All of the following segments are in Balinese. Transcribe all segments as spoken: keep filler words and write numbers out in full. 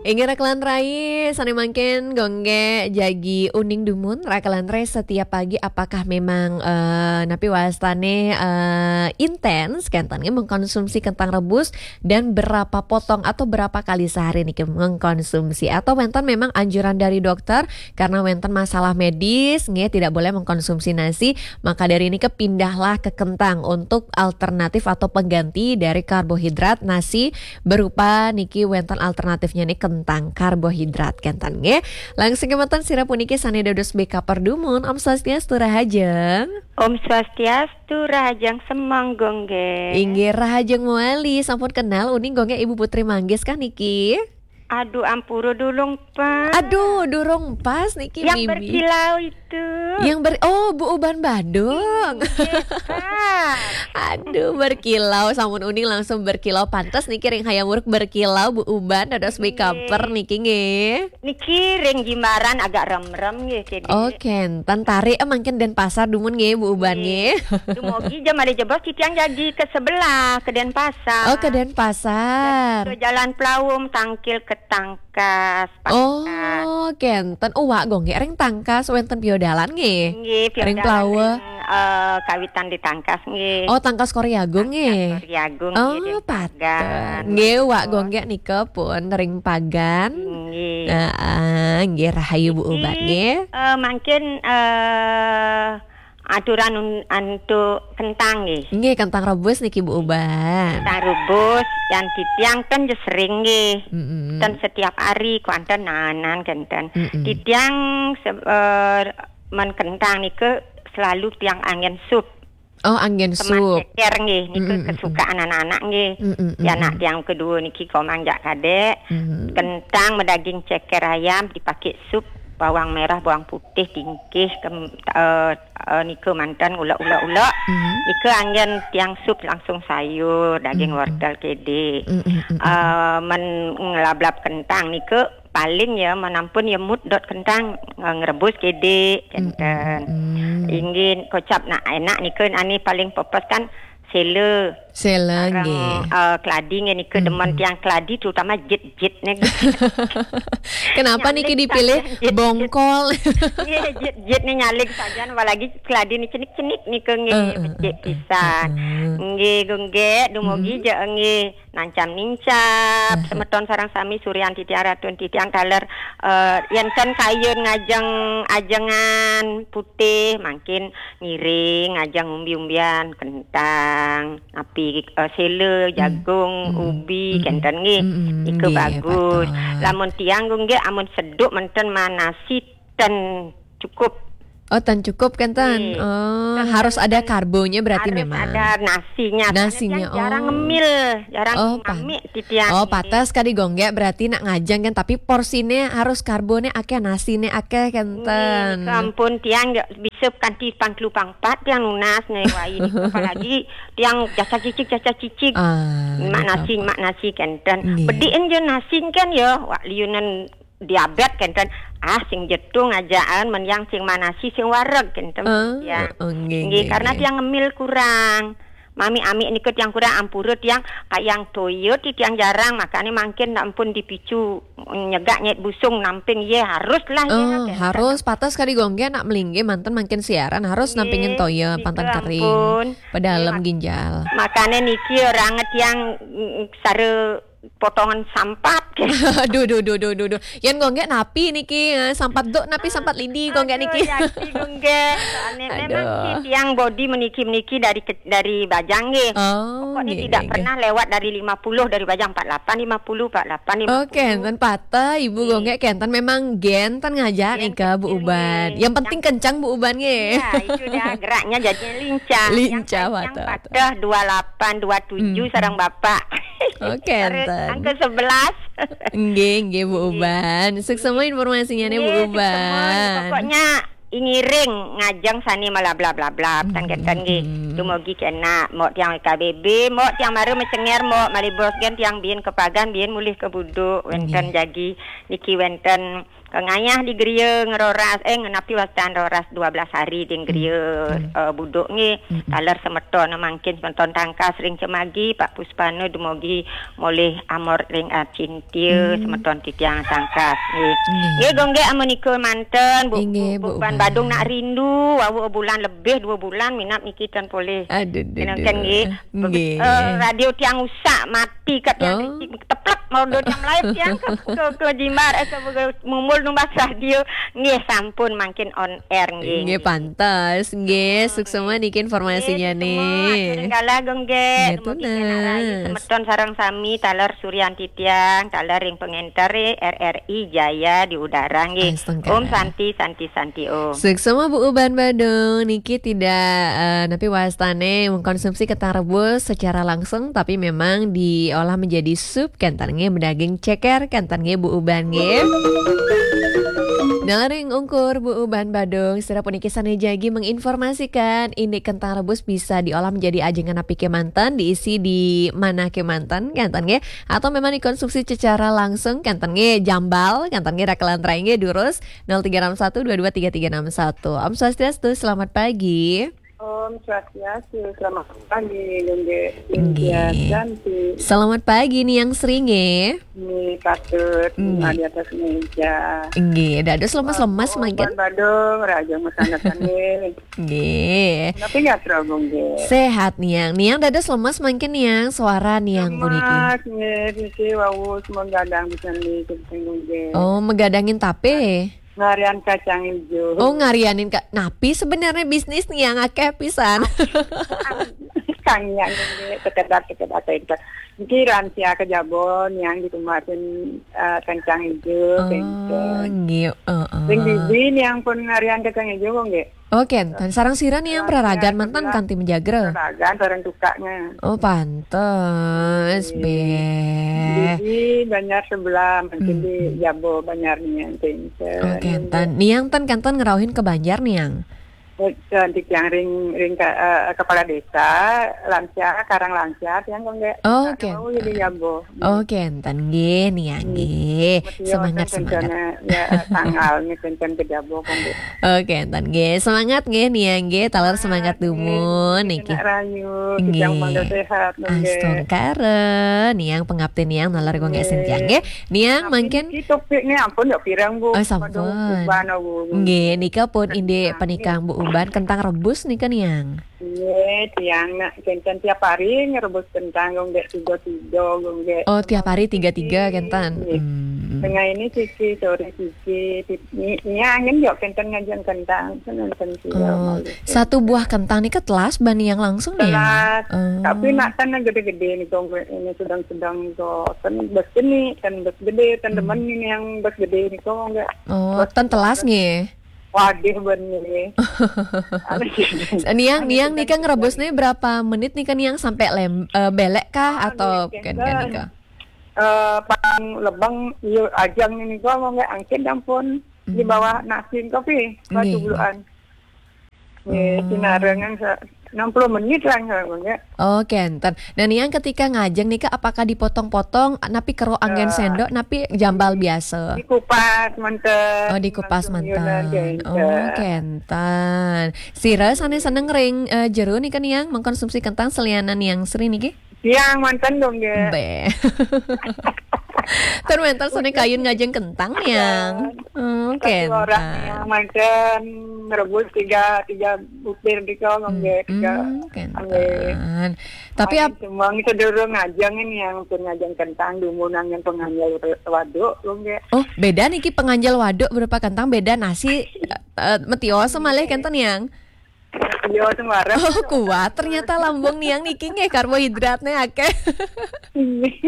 Inggih rakan rai, sané mangkin Gung Gek jagi uning dumun rakan rai setiap pagi apakah memang, eh, napi wastane, eh, intens kenten nggih mengkonsumsi kentang rebus dan berapa potong atau berapa kali sehari niki mengkonsumsi atau wenten memang anjuran dari dokter karena wenten masalah medis nggih tidak boleh mengkonsumsi nasi, maka dari ini kepindahlah ke kentang untuk alternatif atau pengganti dari karbohidrat nasi berupa niki wenten alternatifnya nih kentang karbohidrat kenten nggih. Langsung kementen sira puniki sané dados B K perdumun. Om Swastiastu Rahajeng. Om Swastiastu Rahajeng Semeng Gung Gek. Inggih Rahajeng Muali, sampun kenal uning Gung Gek Ibu Putri Manggis kah niki? Aduh ampura durung pas. Aduh durung pas niki. Yang Mimi berkilau itu. Yang ber Oh, Bu Uban Badung. Inggih, Pak. Aduh, berkilau sampun uning langsung berkilau. Pantes niki ring hayam wuruk berkilau Bu Uban dados makeuper niki nggih. Niki ring Jimbaran agak remrem nggih kene. Oh, kenten tarik eh, mangkin Denpasar dumun nggih Bu Uban nggih. Dumogi jam malih jebos titiang jagi ke sebelah ke Denpasar. Oh, ke Denpasar. Ke Jalan Pelawum tangkil ke Tangkas. Oh, kenten. Oh, wak Gung Gek ring Tangkas wenten piodalan nggih. Nggih, piodalan ring Plawa. Ring, eh, kawitan di Tangkas nggih. Oh, Tangkas Kori Agung nggih. Tangkas Kori Agung nggih, oh, ring Pagan. Nggih, wak Gung Gek nika pun ring Pagan. Nggih. Heeh, nggih rahayu Bu Uban nggih. Eh, mangkin eh aturan un- antuk kentang nggih. Nggih, kentang rebus niki Bu Uban. Kentang rebus yang titiang ten je sering nggih. Mm-mm. Ten setiap hari kuanten nanan kenten. Mm-mm. Titiang se- eh, men kentang nika selalu tiang angin sup. Oh, angin sup. Semat ceker nggih, nika kesukaan anak-anak nggih. Mm-mm, mm-mm. Ya anak tiang kedua niki komang jak kadek. Mm-mm. Kentang medaging ceker ayam dipakai sup bawang merah, bawang putih, tingkih, kem, eh, eh, nika manten ulek-ulek-ulek. Mm-hmm. Nika angin tiang sup langsung sayur, daging wortel kede. Mm-hmm. Eh, men ngelablab kentang nika paling ya menampun ya mut dot kentang eh, ngrebus kede kenten. Mm-hmm. Inggih kocap nak enak nika ane paling pepes kan sela. Sela nggih. Eh, keladi nggih nika demen tiang keladi terutama jit-jit nih. Kenapa niki dipilih bongkol? Nggih, jit-jit nih nyalik saja apalagi keladi nih cenik-cenik nika nggih becik pisan. Nggih Gung Gek dumogi je nggih nancam nincap semeton sareng sami Suryanti tiang Ratun titiang taler eh, yenten kayun ngajeng ajengan putih mangkin ngiring ngajeng umbi-umbian kentang api eh, sela, jagung, ubi, kenten nggih. Nika bagus. Lamun tiang nggih amun seduk menten manasi ten cukup. Oh, ten cukup kenten. Nggih. Oh, harus ada karbonya berarti harus memang. Ada nasinya. Nasinya, soalnya tiang jarang ngemil, jarang ngamik titiang. Oh, patas kadi Gung Gek berarti nak ngajeng kan tapi porsine harus karbone akeh, nasine akeh kenten. Nggih, sampun tiang nggih bisa kanti pang telu pang pat tiang nunas nih wai niki. Apalagi tiang jasa cicik, jasa cicik. Ah, mak nasi, mak nasi kenten. Nggih. Bediin je nasi kan ya, wak liunan diabet kenten. Ah, sing jetung ajaan men yang sing manasi sing wareg kenten. Ah, ya. Oh, nggih, nggih, nggih, karena tiang ngemil kurang. Mami amik niku tiang kurang ampura tiang kayang toya ti tiang jarang makane mangkin nak ampun dipicu nyegak nyait busung namping ye harus lah ye. Oh, harus patas kadi Gung Gek nak melingge manten mangkin siaran harus nampingin toya pantan kering. Pedalem ginjal. Makane niki orang tiang mm, sare potongan sampat. Aduh, duh, duh, duh, duh, duh. Yen Gung Gek napi niki eh, sampat duk napi sampat lidi Gung Gek niki. Aduh, ya, Gung Gek. Soalnya memang si tiang body meniki-meniki dari ke- dari bajang nggih. Oh, pokoknya nggih, tidak nggih, pernah lewat dari lima puluh dari bajang empat lapan lima puluh empat lapan lima puluh. Oke, enten patah Ibu Gung Gek kenten memang gen ten ngajak nih ke Bu Uban. Yang penting kencang Bu Uban nggih. Ya, itu dah geraknya jadi lincah. Lincah yang patah. Patah dua lapan dua tujuh sarang bapak. Oke, enten. Angka sebelas. Nggih, nggih Bu Uban. Suksema informasinya nih Bu Uban. Pokoknya ingiring ngajeng sani mala bla bla bla tangketan nggih. Dumugi kena mok tiang K B B, mok tiang mara mecenger, mok malih bos gen tiang biin ke pagan, biin mulih ke buduk, wenten jagi niki wenten Kengayah di geria ngeroras, eh, ngenapi wastan roras dua belas hari di geria, hmm, eh, buduk nggih. Hmm. Taler semeton mangkin semeton tangkas ring Cemagi, Pak Puspana dumogi molih amor ring acintia, hmm, semeton titiang tangkas nggih. Nggih. Nggih, Gung nggih, amunika manten, Bu, inggih, Bu, Bu Uban Uban. Badung nak rindu, wau bulan lebih dua bulan minab niki tan polih. Aduh, duh, duh. Nggih. Nggih. Eh, radio tiang usak mati kat tiang, oh, niki teplek mau dua jam lain tiang ke, ke, ke jimbar, eh, ke, ke mumbul numbas radio. Nggih, sampun mangkin on air nggih. Nggih, pantes. Nggih, hmm, suksema niki informasinya nggih, nih. Suksema, atur ring galah, Gung nggih. Nggih, dumogi tunas. Kenak rahayu semeton sareng sami, taler Suryanti tiang, taler ring pengenter R R I Jaya di udara nggih. Astungkara. Om Santi, Santi, Santi Om. Suksema Bu Uban Badung, niki tidak, eh, napi wastane mengkonsumsi kentang rebus secara langsung, tapi memang diolah menjadi sup, kenten nggih, bedaging ceker, kenten nggih Bu Uban nggih. Nalering ungkur Bu Uban Badung, sira puniki sane jagi menginformasikan indik kentang rebus bisa diolah menjadi ajengan napi kemanten, diisi di mana kemanten, kenten nggih, atau memang dikonsumsi secara langsung, kenten nggih, jambal, kenten nggih, rakelan rai nggih, durus, nol tiga enam satu dua dua tiga tiga enam satu. Om Swastiastu, selamat pagi. Om Swastiastu, selamat pagi, Gung nggih. Nggih. Selamat pagi, Niang Sri nggih. Nggih, patut, hmm, di atas meja. Nggih, dados lemes-lemes mangkin. Uban Badung, raja masandekan nggih. Nggih. Tapi nggak terlalu nggih. Sehat, Niang. Niang dados lemes mangkin, Niang. Suara Niang puniki. Lemes nggih, sisi wau semua gadang bisa nggih, nggih. Oh, megadangin tape? Ngarian kacang ijo. Oh, ngarianin ka-, napi sebenarnya bisnis Niang akeh pisan? Kang Niang nggih, sekedar, sekedar tenter. Niki lansia ke Jabon yang dikemasin, eh, kacang ijo, oh, tenter. Nggih, heeh. Sing bibi Niang pun ngarian kacang ijo kok nggih. Oh, kenten. Sareng sira Niang praragan manten kanti menjagra? Praragan sareng tukaknya. Oh, pantes, nggih. Be. Bibi Banjar sebelah, mungkin di, hmm, Jabo Banjar Niang, tenter. Oh, kenten. Niang ten kanten ngerauhin ke Banjar, Niang? Eh, cantik yang ring, ring ka-, eh, kepala desa, lansia, Karang Lansia, yang kok nggak? Oh, kenten. Mau jadi Jabo. Oh, kenten. Nggih, Niang, hmm, nggih. Mesti semangat, semangat. Ya, tanggal nih, kenten ke Jabo, kok nggih. Oke, enten nggih. Semangat nggih, Niang nggih. Taler semangat dumun niki. Semangat nggih, kena rayu. Nggih. Kita mangga sehat, nggih. Astungkara, Niang pangapti Niang naler kok nggih, nggih, senjang nggih. Niang, tapi mangkin niki topiknya ampun ya pirang, Bu. Oh, sampun. Waduh, Uban, Bu. Nggih, nika pun indik penikang Bu Uban kentang rebus nika, Niang. Nggih, tiang nak kenten tiap hari ngerebus kentang, nggih, tiga-tiga, nggih. Oh, tiap hari tiga-tiga kenten. Nggih. Hmm. Tengah ini siki, sore siki, ti-, ni, ni angin yo kenten ngajeng kentang, kenten sira. Oh, malih. Satu buah kentang nika telas bani yang langsung nih ya? Telas. Oh. Tapi nak tan gede-gede nih, kok ini sedang-sedang nih, kok. Tan bes gede, tan bes gede, tan, hmm, demen ini yang bes gede nih, kok nggak. Oh, bes tan telas nggih. Waduh, bener. Niang, Niang nika ngerebusnya berapa menit nika Niang sampai lem-, eh, belek kah atau nggih, ken-, ken nika? Eh, paling lebeng, iya, ajang nika mau nggak angkin ampun di bawah nasi kopi, batu buluan. Nggih, nggih. Nggih, sinarengan sa-, enam puluh menit lah, nggak, nggak. Oh, kenten. Nah, Niang ketika ngajeng nika, apakah dipotong-potong, napi kero anggen sendok, napi jambal biasa? Dikupas manten. Oh, dikupas manten. Langsung yunan, kenten. Oh, kenten. Sira sane seneng ring, eh, jero nika, Niang, mengkonsumsi kentang selianan Niang Sri niki? Tiang manten dong, nggih. Be. Ten wenten sane kayun ngajeng kentang, Niang. Kenten. Oh, kenten. Satu orang yang manten rebus tiga, tiga butir di kolong, nggih, tiga. Hmm, kenten. Nggih. Tapi ap- semua sedurung ngajeng ini yang pun ngajeng kentang, dumun angin penganjal waduk, nggih. Oh, beda niki penganjal waduk berupa kentang, beda nasi, eh, eh, metio semalih kenten, Niang. Iya, sembarang. Oh, kuat ternyata lambung Niang niki nggih, karbohidratnya akeh. Wih,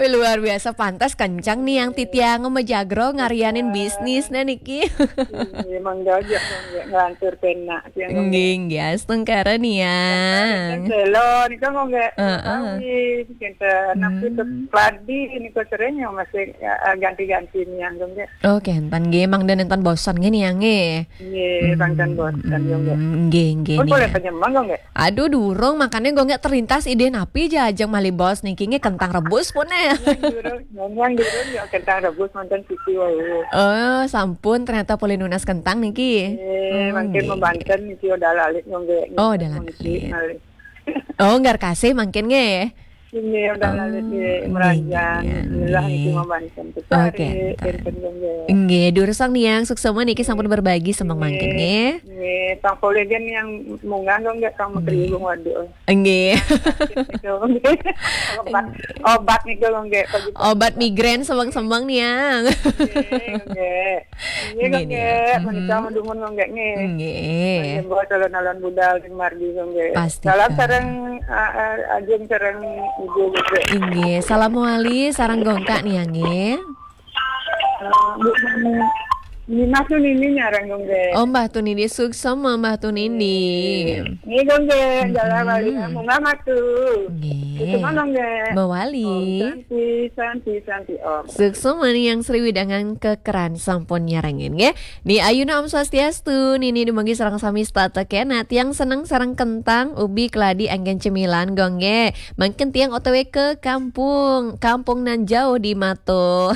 luar biasa, pantas kencang Niang titiang mejagro ngarianin bisnisnya niki. Iya, emang gajah, nggih, ngelantur penak, tiang nggih. Nggih, nggih, astungkara Niang. Selo, nika mau nggak? Heeh. Kawin, kenten, napi, hmm, padi, nika sering yang masih, ya, ganti-ganti Niang, nggih. Oh, kenten nggih, mangda nenten bosan nggih Niang nggih. Nggih, hmm, pangkan boten, yo, nggih. Nggih, nggih. Pun boleh penyemang kok nggak? Aduh, durung, makanya kok nggak terlintas ide napi aja ajeng malih baos niki nggih kentang rebus pun ya. Durung, memang durung ya kentang rebus mantan sisi wau. Oh, sampun ternyata boleh nunas kentang niki. Eh, oh, mungkin nggih. Membanten niki udah lalit nggih. Oh, udah lalit. Oh, nggak kasih mungkin nggih. Ini udah lalu di meranjang. Bismillah niki membantu. Oke. Nggih, durusang niang suksema niki sampun berbagi semeng mangkin nggih. Nggih, tang polegen yang mungan dong nggih tang mekriwung waduh. Nggih. Obat, obat nih dong nggih. Obat migrain semeng-semeng niang. Nggih, nggih. Nggih, nggih, nggih. Menika mendumun nggih nggih. Nggih. Nggih, calon-calon budal sing margi nggih. Pasti. Salam sareng, eh, eh, Ajeng sareng Ibu nggih. Nggih, salam wali sareng gongkak nih ya nggih. Eh, Bu Nini. Nini Mas tuh Nini nyarang nggih. Oh, Mbah Tunindi suksema Mbah Tunindi. Nggih nggih, jalan wali munggah matu. Nggih. Suksema nggih. Mbah Wali. Om Santi, Santi, Santi, Om. Suksema niang Sri Widangan Kekeran sampun nyarengin nggih. Ni ayuna Om Swastiastu, nini dumogi sareng sami setata kena tiang seneng sareng kentang, ubi, keladi, anggen cemilan gong nggih. Mangkin tiang O T W ke kampung, kampung nan jauh di Mato.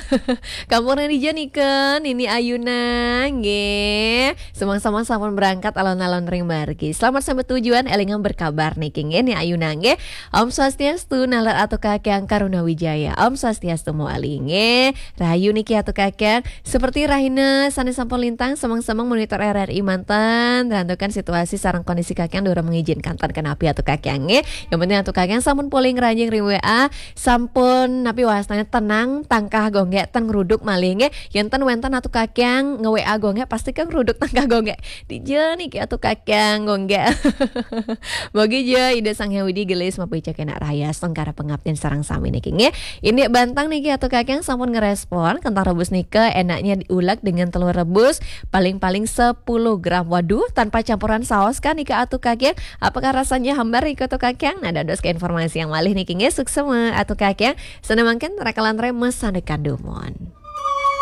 Kampung nan dija nika, nini ayuna nggih. Semang-semang sampun berangkat alon-alon ring margi. Selamat sampai tujuan, elingang berkabar niki nggih, ni ayuna nggih. Om Swastiastu, nalar atu kakyang Karuna Wijaya. Om Swastiastu mawali nggih. Rahayu niki atu kakyang. Seperti rahina sane sampun lintang, semeng-semeng monitor R R I manten, rantukan situasi sareng kondisi kakyang durung mengizinkan tan kenapi atu kakyang nggih. Yang penting atu kakyang sampun polih ngranjing ring W A, sampun napi wastane tenang, tangkah gong nggih, ten ngruduk malih nggih. Yen ten wenten atu kakyang nge-W A gong nggih, pasti kan ngruduk tangkah gong nggih. Dija niki atu kakyang gong nggih. Mogi ja Ida Sang Hyang Widi gelis mapica kena raya sengkara pengabdian sareng sami niki nggih. Ini bantang niki atu kakyang sampun ngerespon kentang rebus nika enaknya diulek dengan telur rebus paling-paling sepuluh gram. Waduh, tanpa campuran saos kan nika atu kakyang. Apakah rasanya hambar nika atu kakyang? Nah, dados ke informasi yang malih niki nggih suksema atu kakyang. Sana mangkin rakalan remes sandekan dumon.